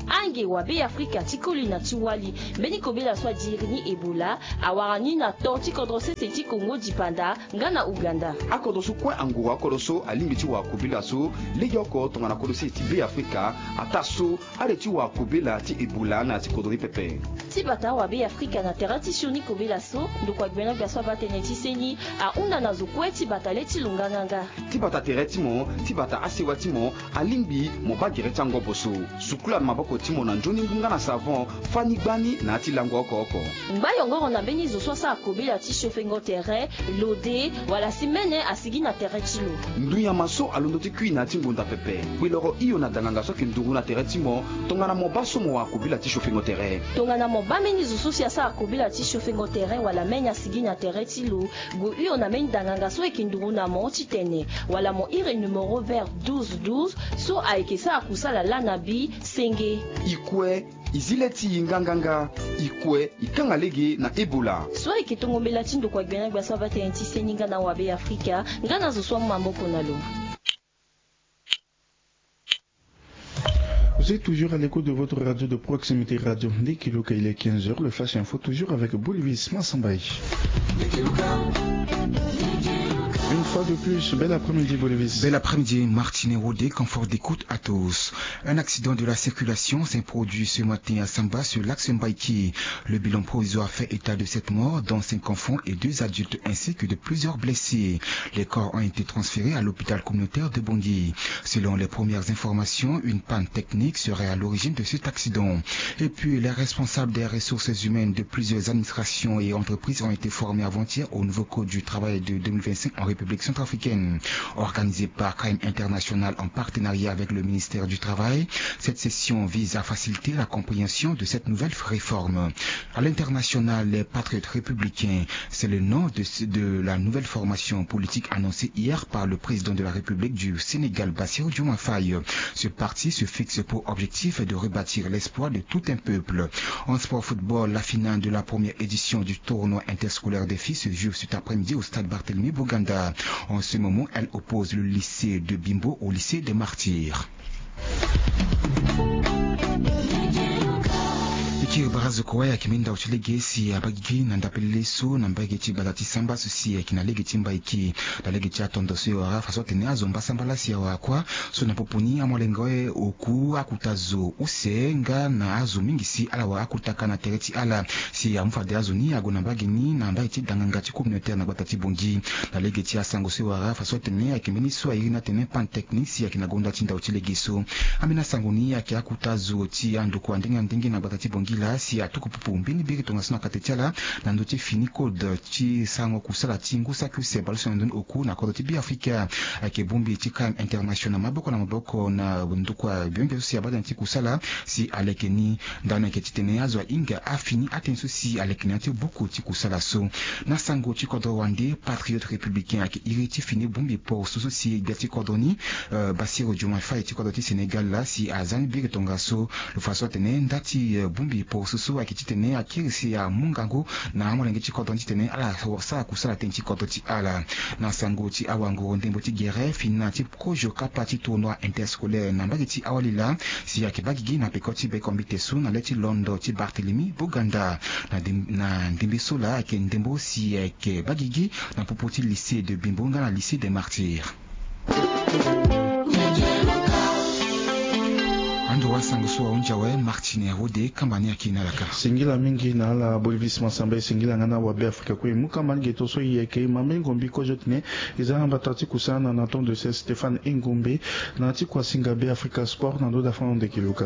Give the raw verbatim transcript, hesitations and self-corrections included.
Ange wa Be Afrika ti koli na ti wali, mbeni kobela so adiri ni Ebola awara ni na to ti kodro sese ti Kongo dipanda nga na Ouganda. Akodro so kue anguru akodro so alingbi ti wara kobela so legeoko tongana kodro sese ti Be Afrika, ataa so ale ti wara kobela ti Ebola na ya ti kodro ni pepe. Ti bata wa Be Afrika na tere ti sioni kobela so ndokua gbena gbia so abaa tënë ti seni ahunda na zo kue ti bata le ti lo nganganga. Ti bata tere ti mo, ti bata asewa ti mo, alingbi mo baa gere ti angobo so. Sukula na maboko ti mo na nzoni ngu nga na savon, fani gbani na ya ti lango oko oko. Ngba yongoro na mbeni zo so asara kobela ti siofengo tere, lode, wala si mene asigi na tere ti lo. Ndunyama so alondo ti kui na ya ti ngonda pepe, kpe loro hio na danganga so ayeke nduru na tere ti mo, tongana mo baa so mo wara kobela ti siofengo tere. Tongana mo baa mbeni zo so si asara kobela ti siofengo tere wala mene asigi na tere ti lo, gue hio na mbeni danganga so ayeke nduru na mo titene wala mo iri numéro vert douze douze so ayeke sara kusala lana bi senge. E kue, e zi le ti e nganganga. E kue, e kanga lege na Ebola. So ayeke tongo mbela ti ndokua gbena gbia so abaa tënë ti seni nga na wa Be Afrika, nga na zo so amu maboko na lo. Vous êtes toujours à l'écoute de votre radio de proximité, Radio Ndekiluka. Il est quinze heures, le Flash Info, toujours avec Bolivis Massambaye. Une fois de plus, bel après-midi, Bolivis. Bel après-midi, Martine Rodé, confort d'écoute à tous. Un accident de la circulation s'est produit ce matin à Samba sur l'axe Mbaïki. Le bilan provisoire fait état de sept morts, dont cinq enfants et deux adultes, ainsi que de plusieurs blessés. Les corps ont été transférés à l'hôpital communautaire de Bangui. Selon les premières informations, une panne technique serait à l'origine de cet accident. Et puis, les responsables des ressources humaines de plusieurs administrations et entreprises ont été formés avant-hier au nouveau code du travail de deux mille vingt-cinq en République centrafricaine. Organisée par Crime International en partenariat avec le ministère du Travail, cette session vise à faciliter la compréhension de cette nouvelle réforme. À l'international, les Patriotes républicains, c'est le nom de, de la nouvelle formation politique annoncée hier par le président de la République du Sénégal, Bassirou Diomaye Faye. Ce parti se fixe pour objectif de rebâtir l'espoir de tout un peuple. En sport football, la finale de la première édition du tournoi interscolaire des filles se joue cet après-midi au stade Barthélemy Boganda. En ce moment, elle oppose le lycée de Bimbo au lycée des Martyrs. E kiri barazo kue ayeke minda oti lege si abagigi na ndapelele so na mbage ti gbata ti samba so si ayeke na lege ti Mbaïki. Na lege ti atondo so e wara faso atene azo mbasambala si awara kuâ so na popo ni amolenge oku akuta zo use nga na azo mingi si ala wara akutaka na tere ti ala. Si amu fade azo ni ague na mbage ni na mbage ti danganga ti communautaire na gbata ti Bangui. Na lege ti asango so e wara faso atene ayeke mbeni so airi ni atene panne technique si ayeke na gonda ti ndao ti lege so. Ambeni asango ni ayeke akuta zo ti andokua ndenge na ndenge na gbata ti Bangui laa si atuku pupu mbeni biri tongaso na kate ti ala na ndö ti fini code ti sarango kusala ti ngu saki use baleuse na ndoni oku na kodro ti Beafrika. Ayeke bongbi ti Crime International maboko na maboko na ndokua biongbi so si abaa tënë ti kusala si aleke ni. Ndani ayeke titene azo ahinga afini atënë so si aleke na ya ti buku ti kusala so. Na sango ti kodro wande Patriote Républicain ayeke iri ti fini bongbi poroso so si gbia ti kodro ni, eh, Bassirou Diomaye Faye ti kodro ti Sénégal laa si aza ni biri tongaso. Lo fa so atene nda ti, eh, bongbi poroso so ayeke titene akiri si amu ngangu na amolenge ti kodro ni titene ala sara kusala tënë ti kodro ti ala. Na sango ti awanguru ndembo ti gere fini na ti kozo kapa ti tournoi interscolaire na mbage ti awali laa si ayeke baa gigi na peko ti bekombite so na le ti londo ti Barthélemy Boganda. Na ndem-, na ndembe so laa ayeke ndembo si ayeke baa gigi na popo ti lycée de Bimbo nga na lycée des Martyrs. Ando wa sango so ahunzi awe, Martine Rode, kamba ni ayeke na ala ka. Singila mingi na ala Bolivis Mansamba, e singila nga na wa Beafrika kue. Mu kamba ni ge to so e yeke, e ma mbeni ngombi kozo titene e za na mbata ti kusana na tonde se Stéphane Engombe na ti kuasinga Beafrika Sport na ndo da fano ndeke luka.